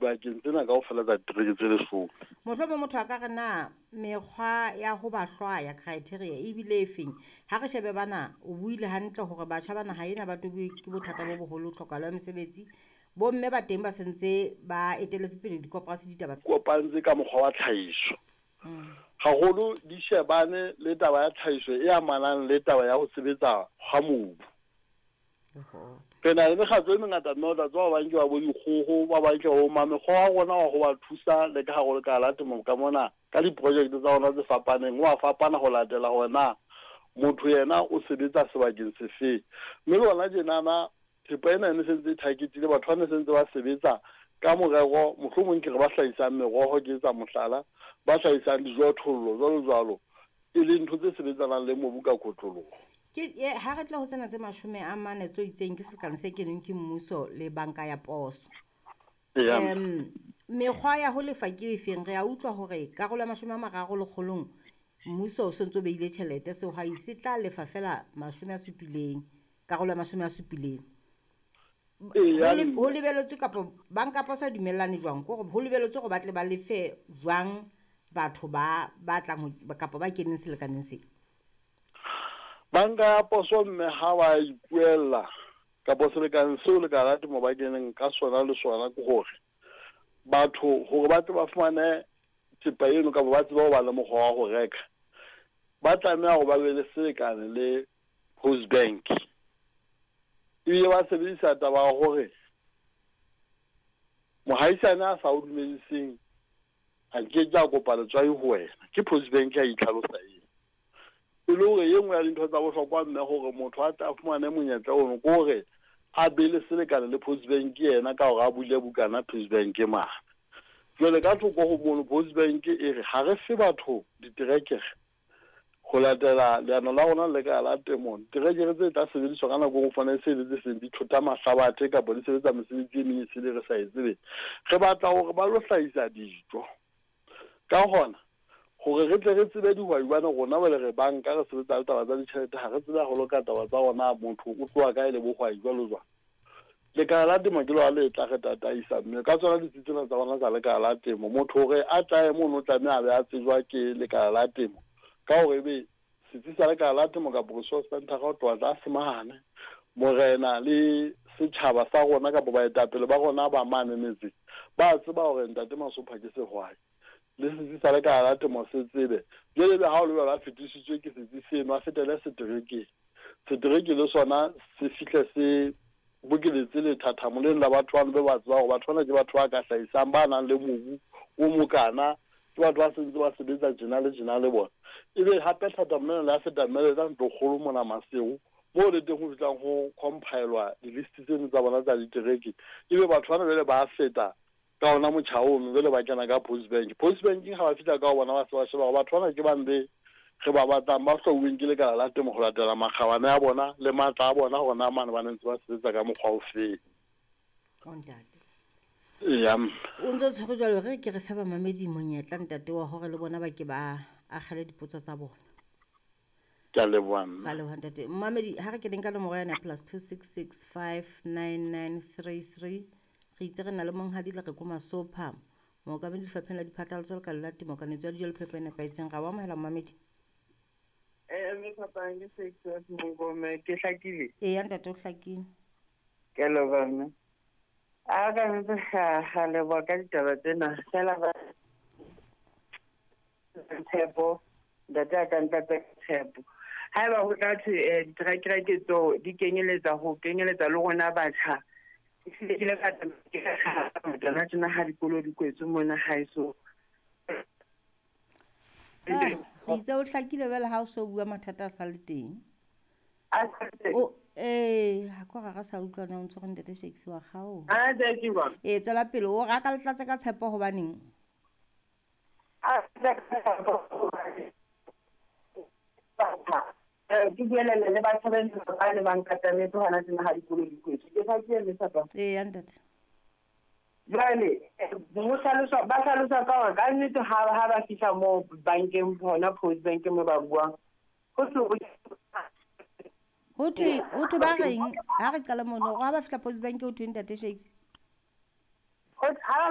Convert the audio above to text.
dibakeng tsena kaofela tsa ditereke tse 10. Mohlomong motho a ka re na mekgwa ya ho ba hlwaya, criteria, e bile e feng? Ha re shebe bana, o buile hantle hore batjha bana ha ena ba tobiwe ke bothata bo boholo, tlhokahalo ya mesebetsi. Bomme ba teng ba sentse ba eteletse pele dikoporasi ditaba. Kopantse ka mokgwa wa tlhahiso. Haholo di shebane le taba ya tlhahiso e amanang le taba ya ho sebetsa hwa mobu. Re na le mekgatlo e mengata mme o tla tseba ba bang ke ba bo dikgoho, ba bang ke ba bo mang. Mekgwa wa rona wa ho ba thusa le ka hare ho lekala la temo ka mona ka diprojekte tsa rona tse fapaneng o a fapana ho latela hore na motho yena o sebetsa sebakeng sefeng. Mme le hona tjenana thepa ena e ne sentse e targetile batho ba ne sentse ba sebetsa ka morero, mohlomong ke re ba hlahisang meroho, ke etsa mohlala, ba hlahisang dijothollo jwalo jwalo, e leng ntho tse sebetsanang le mobu ka kotloloho. Ke ha re tle ho tsena tse 40 tse itseng ke selekane se kenweng ke mmuso le banka ya poso. Mekgwa ya ho lefa ke efeng? Re a utlwa hore karolo ya 30 lekgolong mmuso o sentse o behile tjhelete, sehwai se tla lefa fela 70, karolo ya 70. Ho lebeletswe kapa banka poso e dumellane jwang? Ke hore ho lebeletswe hore ba tle ba lefe jwang batho ba batlang kapa ba keneng selekaneng se? Banka ya poso mme ha ba ipuella kapa selekane seo lekala la temo ba keneng ka sona le sona ke hore batho hore ba tle ba fumane thepa eno kapa ba tsebe ho ba le mokgwa wa ho reka, ba tlameha hore ba be le selekane le Post Bank. Ebile ba sebedisa taba ya hore mohaisane a sa o dumediseng a ke ke a kopa letswai ho wena. Ke Post Bank ya itlhalosa eo. E le hore e nngwe ya dintho tsa bohlokwa mme hore motho a tle a fumane monyetla ono ke hore a be le selekane le Post Bank yena ka hore a bule bukana Post Bank mane. Jwale ka thoko ho mono Post Bank e re ha re fe batho diterekere ho latela leano la rona le lekala la temo. Diterekere tse tla sebediswa ka nako e nngwe fana e se le tse seng di thota mahlabathe kapa di sebetsa mesebetsi e meng e sele re sa e tsebeng. Re batla hore ba lo hlahisa dijo. Ka hona hore re tle re tsebe dihwai hobane rona jwale re banka re sebetsa le taba tsa ditjhelete, ha re tsebe haholo ka taba tsa hore na motho o tloha kae le bohwai jwalo jwalo. Lekala la temo ke lona le tla re tataisa mme ka tsona ditsi tsena tsa rona tsa lekala la temo, motho hore a tlae mono o tlameha a be a tsejwa ke lekala la temo ka hore ebe setsi sa lekala la temo kapa resource center ho tloha tlase mane morena le setjhaba sa rona kapa baetapele ba rona ba mane metseng ba tseba hore ntate Masopha ke sehwai le setsi sa lekala la temo se tsebe. Jwale ebe ha o le jwalo a fetisitswe ke setsi seno, a fetele seterekeng. Setereke le sona se fihle se bokeletse lethathamo leno la batho bano be ba tseba hore batho bana ke batho ba ka hlahisang, ba nang le mobu o mokana, ke batho ba sentse ba sebetsa tjena le tjena le bona. Ebe hape thathamo lena le a feta mme le tla ntlokgolo mona Maseru, moo le teng ho fihlang ho compilwa di-list tseno tsa bona tsa ditereke. Ebe batho bana jwale ba feta ka ona motjha ono, jwale ba kena ka Post Bank. Post Banking ha ba fihla ka ho bona ba se ba sheba hore batho bana ke bang be re ba batlang, ba hlwauweng ke lekala la temo ho latela makgabane a bona le matla a bona hore na mane ba ne ntse ba sebetsa ka mokgwa o feng. O ntate. Eya mme. O ntse o tshwere jwalo, re ke re fe bamamedi monyetla ntate wa hore le bona ba ke ba akgele dipotso tsa bona. Ke a leboha mme. Ra leboha ntate. Mmamedi, ha re keneng ka nomoro yane ya +266 59933 re itse re na le monghadi le re ko Masopha, mookamedi lefapheng la diphatlalatso lekala la temo, kanetso ya dijo le phepo e nepahetseng. Ra o amohela mmamedi. Mme Phapang, ke Success Monkome, ke hlakile? Eya ntate, o hlakile. Ke a leboha mme. A ka ntse ga leboha ka ditaba tsena fela ba tshepo, ntate a ka ntlatsa tshepo. Haeba ho tla thwe diterekere ke tseo di kenyeletsa ho kenyeletsa le rona batjha, ehlile ke ile ka tsamaya ke tsona tjena ha dikolo di kwetswe mona haeso. Re itse o hlakile jwale ha o so bua mathata a sa le teng. O ha ko ra sa utlwa na o ntse re ntate Shakes wa kgaoha. Tswela pele o re a ka le tlatse ka tshepo hobaneng? Ke buelele le batho ba ba ne ba nkatametse hona tjena ha dikolo di kwetswe. Ke hlakile mme Phapang? Eya ntate. Jwale ho hlaloswa, ba hlalosa ka hore ka nnete ha ba fihla moo bankeng hona Post Bank mo ba buang, ho thwe ho thwe ba reng ha re qala mono, ha ba fihla Post Bank ho thwe ntate Shakes? Ha